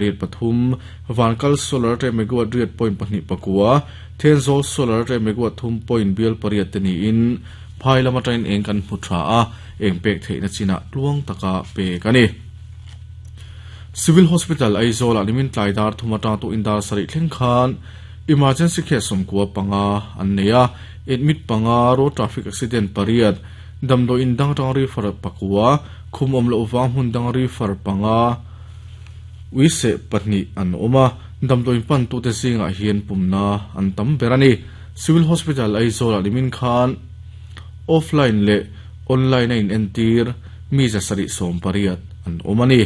Riat pathum, Vankal Solar atanga megawatt riat point pahnih pakua, Thenzawl Solar atanga megawatt thum point bial pariat te niin phai lam atangin eng kan hmu tha a, eng pek theihna chinah tluang taka pek a ni. Civil Hospital Aizawl-ah nimin tlai dar thum atang tuhin dar sarih thleng khan Emergency case sawmkua panga an nei a, admit panga, road traffic accident pariat, damdawi in dang atanga refer pakua, khum awm loh vang hmun danga refer panga, Uiseh pahnih an awm a, damdawiin pantute zingah hian pumna an tam ber a ni. Civil Hospital Aizawl-ah nimin khan offline leh online a inentir mi 780 an awm a ni.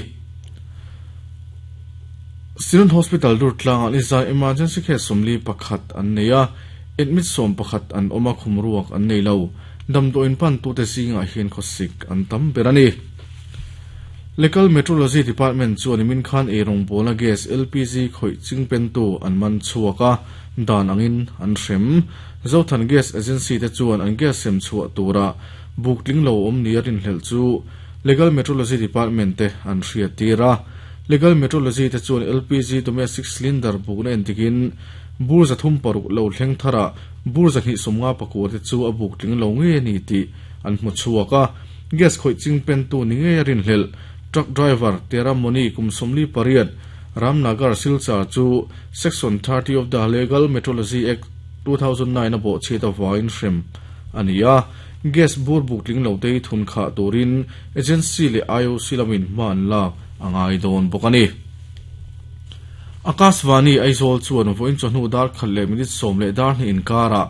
Synod Hospital Durtlangah nizan emergency case 41 an nei a, admit 11 an awm a, khum ruak an nei lo. Damdawiin pantute zingah hian khawsik an tam ber a ni. Legal Metrology Department chuan nimin khan eirawngbawlna gas, LPG, khawih chingpentu an man chhuak a, dan angin an hrem. Zothan Gas Agency te chuan an gas sem chhuah tura buk tling lo awm nia rinhlelh chu Legal Metrology Department te an hriattir a. Legal Metrology te chuan LPG domestic cylinder bukna entikin bur 306 lo thleng tharah bur 254 te chu a buk tling lo ngei a ni tih an hmu chhuak a. Gas khawih chingpentu ni ngei a rinhlelh truck driver Tera Moni kum 48 Ramnagar Silchar chu Section 30 of the Legal Metrology Act 2009 a bawhchhiat avangin hrem a ni a. Gas bur buk tling lo te hi thun khah turin agency leh IOC lamin hma an lak a ngai dawn bawk a ni. Akashvani Aizawl chuan vawiin chawhnu dar khat leh minute sawm leh dar hnih inkarah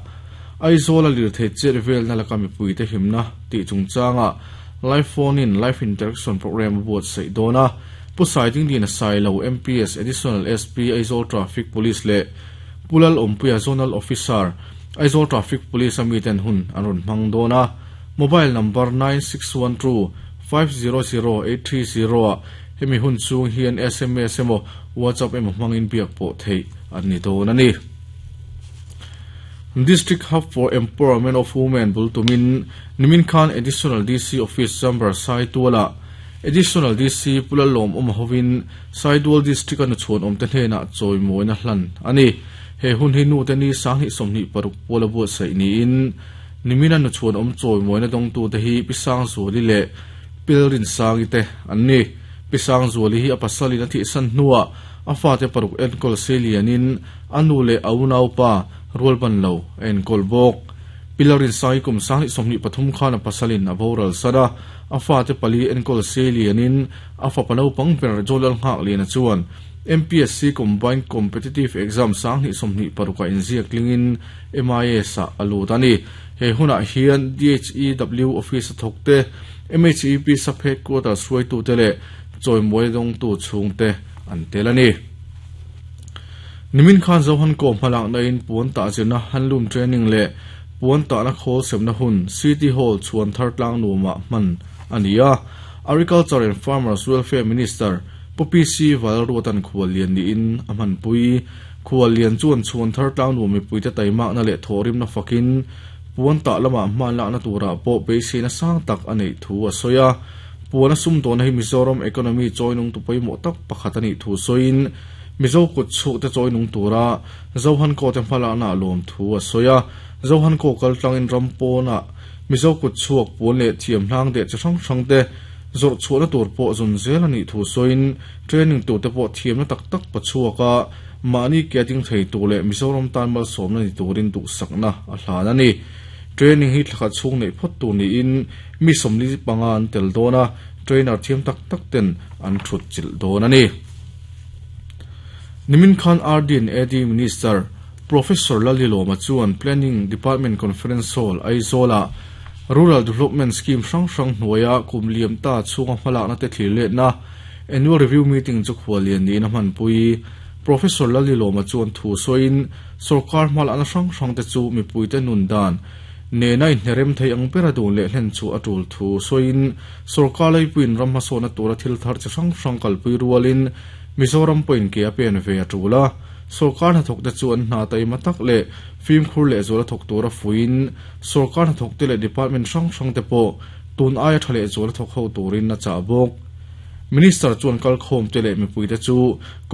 Aizawl a lirthei chet velna laka mipuite himna tih chungchangah Live Phone in Live Interaction Programme a buatsaih dawn a. Pu Saidingdina Sailo, MPS, Additional SP, Aizawl Traffic Police leh Pu Lalawmpuia Zonal Officer, Aizawl Traffic Police a miten hun an rawn hmang dawn a. Mobile number 9612 500 830 ah hemi hun chhung hian sms emaw WhatsApp emaw hmangin biak pawh theih an ni dawn a ni. District Hub for Empowerment of Women bul tumin nimin khan Additional DC Office Chamber Saitualah Additional DC Pu Lalawm awm hovin Saidual District a nuchhuan awmte hnenah chawimawina hlan a ni. He hun hi nute ni 2026 puala buatsaih niin nimina nuchhuan awm chawimawina dawngtute hi Pi Sangzuali leh Pilrin Sangi te an ni. Pi Sangzuali hi a pasalin a thihsan hnuah a fate paruk enkawl seilianin a nu leh a unaupa rualban lo a enkawl bawk. Pilarin Sangi kum 2023 khan a pasalin a boral san a, a fate pali enkawl seilianin a fapa naupang ber Jolal Nghakliana chuan MPSC Combined Competitive Exam 2026 ah inziak tlingin MIS ah a lut a ni. He hunah hian DHEW Office a thawkte, MHEP Sub-Headquarters hruaitute leh chawimawi dawngtu chhungte an tel a ni. Nimin khan Zohan Kaw hmalakna in puan tah zirna handloom training leh puan tahna khawl semna hun City Hall chhuan thar tlang nuamah hman a ni a. Agriculture and Farmers Welfare Minister Pu PC Valruatan khual lian niin a hmanpui. Khual lian chuan chhuan thar tlang nuam mipuite taimakna leh thawhrimna fakin puan tah lamah hmanlakna turah pawh beiseina sang tak a neih thu a sawi a. Puan a sumdawhna hi Mizoram economy chawinungtu pawimawh tak pakhat a nih thu sawiin Mizo kut chhukte chawinung tura Zohan Kaw te hmalakna a lawm thu a sawi a. Zohan Kaw kal tlangin ram pawnah Mizo kut chhuak puan leh thiam hlang deh chi hrang hrang te zawrh chhuahna tur pawh zawn zel a nih thu sawiin training turte pawh thiamna tak tak pa chhuak a, mahni ke a ding thei tur leh Mizoram tan malsawmna ni turin duhsakna a hlan a ni. Training hi thlakhat chhung neih phawt tur niin mi 45 an tel dawn a, trainer thiam tak tak ten an thut chilh dawn a ni. Nimin khan RD and AD Minister Professor Lalilawma chuan Planning Department Conference Hall Aizawl-ah Rural Development Scheme hrang hrang hnuaia kum liam ta chhunga hmalakna te thlir letna Annual Review Meeting chu khuallian niin a hmanpui. Professor Lalilawma chuan thu sawiin sorkar hmalakna hrang hrang te chu mipuite nun dan nena inhnerem thei ang bera dun leh hlen chu a tul thu sawiin sorkar leipuiin ram hmasawhna tura thil thar chi hrang hrang kalpui rualin Mizoram pawhin ke a pen ve a tul a. Sorkar hnathawkte chu an hna taima tak leh fimkhur leh zuala thawk tura fuiin sorkar hnathawkte leh department hrang hrangte pawh tun aia tha leh zuala thawk ho turin a chah bawk. Minister chuan kalkhawmte leh mipuite chu kawng